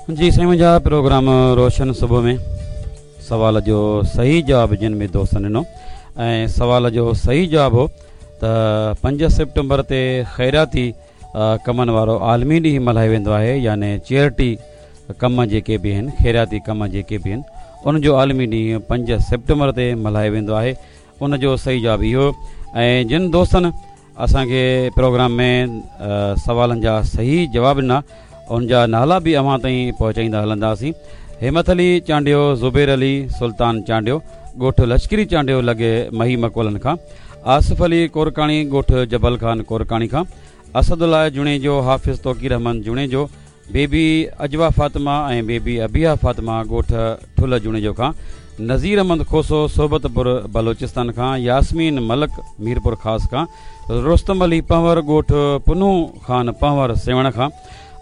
جي سائين منهنجا پروگرام روشن صبح ۾ سوال جو صحيح جواب جن به دوستن ڏنو ۽ سوال جو صحيح جواب هو ته 5 سيپٽمبر تي خيراتي ڪمن وارو عالمي ڏينهن ملهايو ويندو آهي يعني چيئرٽي ڪم جيڪي به آهن خيراتي ڪم جيڪي به آهن ان جو عالمي ڏينهن 5 سيپٽمبر تي ملهايو ويندو آهي ان جو صحيح جواب اهو ۽ جن دوستن اسان کي پروگرام ۾ سوالن جا صحيح جواب ڏنا ان جا نالا به اوهان تائين پهچائيندا هلنداسين همت علي چانڊيو زبير علي سلطان چانڊيو ڳوٺ لشڪري چانڊيو لڳ مهي مڪولن کان آصف علي ڪورڪاڻي ڳوٺ جبل خان ڪورڪاڻي کان اسد الله جوڻيجو حافظ توقير احمد جوڻيجو بيبي عجوه فاطمه ۽ بيبي ابيها فاطمه ڳوٺ ٺلهه جوڻيجو کان، نذير احمد کوسو صحبت پور بلوچستان کان، ياسمين ملڪ ميرپور خاص کان، رستم علي پنهور ڳوٺ پنهون خان پنهور سيوهڻ کان،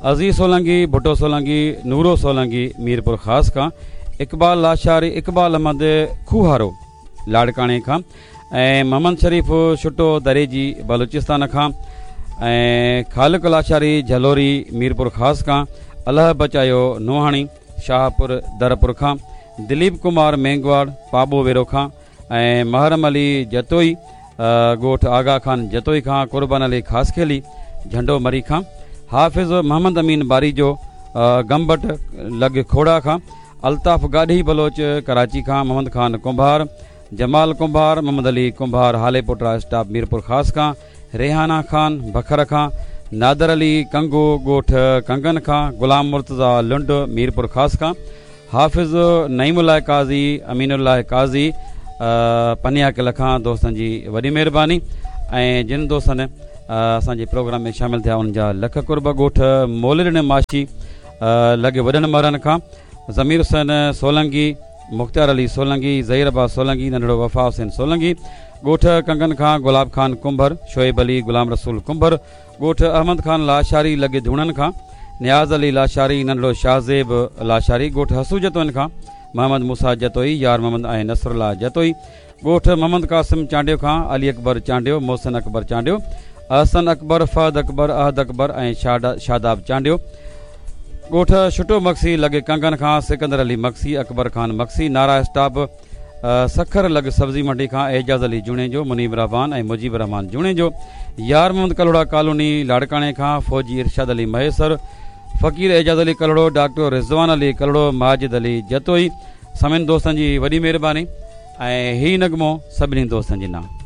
عزيز سولنگي، ڀٽو سولنگي، نورو سولنگي ميرپور خاص کان، اقبال لاشاري، اقبال احمد کوهارو لاڙڪاڻي کان، ۽ محمد شريف ڇٽو دريجي بلوچستان کان ۽ خالق لاشاري جهلوري ميرپور خاص کان الهه بچايو نوحاڻي شاهپور درپور کان دليپ ڪمار مينگواڙ پاٻو ويرو کان ۽ محرم علي جتوئي ڳوٺ آغا خان جتوئي کان قربان علي خاصخيلي جهنڊو مري کان حافظ محمد امين باريجو گمبٽ لڳ کوڙا کان الطاف گاڏهي بلوچ ڪراچي کان محمد خان ڪنڀار جمال ڪنڀار، محمد علي ڪنڀار هاليپوٽا اسٽاپ ميرپورخاص کان، ريحانه خان بکر کان، نادر علي ڪنگو ڳوٺ ڪنگن کان، غلام مرتضيٰ لنڊ ميرپورخاص کان، حافظ نعيم الله قاضي، امين الله قاضي پنياڪل کان دوستن جي وڏي مهرباني ۽ جن دوستن اسان جي پروگرام ۾ شامل ٿيا انهن جا لک قرب ڳوٺ مولڏني ماشي لڳ وڏن مرن کان ضمير حسين سولنگي مختيار علي سولنگي، ظهير عباس سولنگي، ننڍڙو وفا حسين سولنگي، ڳوٺ ڪنگن کان گلاب خان ڪنڀر، شعيب علي، غلام رسول ڪنڀر، ڳوٺ احمد خان لاشاري لڳ ڌوڻن کان نياز علي لاشاري، ننڍڙو شاهزيب لاشاري، ڳوٺ حسو جتوئين کان محمد موسيٰ جتوئي، يار محمد ۽ نصرالله جتوئي، ڳوٺ محمد قاسم چانڊيو کان علي اڪبر چانڊيو، محسن اڪبر چانڊيو، احسن اڪبر، فهد اڪبر، احد اڪبر ۽ شاداب چانڊيو، ڳوٺ ڇٽو مگسي لڳ ڪنگن کان سڪندر علي مگسي، اڪبر خان مگسي، نارا اسٽاپ سکر لڳ سبزي منڊي کان اعجاز علي جوڻيجو، منيب رحمان ۽ مجيب الرحمان جوڻيجو، يار محمد ڪلهوڙا ڪالوني لاڙڪاڻي کان فوجي ارشاد علي مهيسر، فقير اعجاز علي ڪلهوڙو، ڊاڪٽر رضوان علي ڪلهوڙو، ماجد علي جتوئي سمين دوستن جي وڏي مهرباني. ۽ هي نغمو سڀني دوستن جي نانء.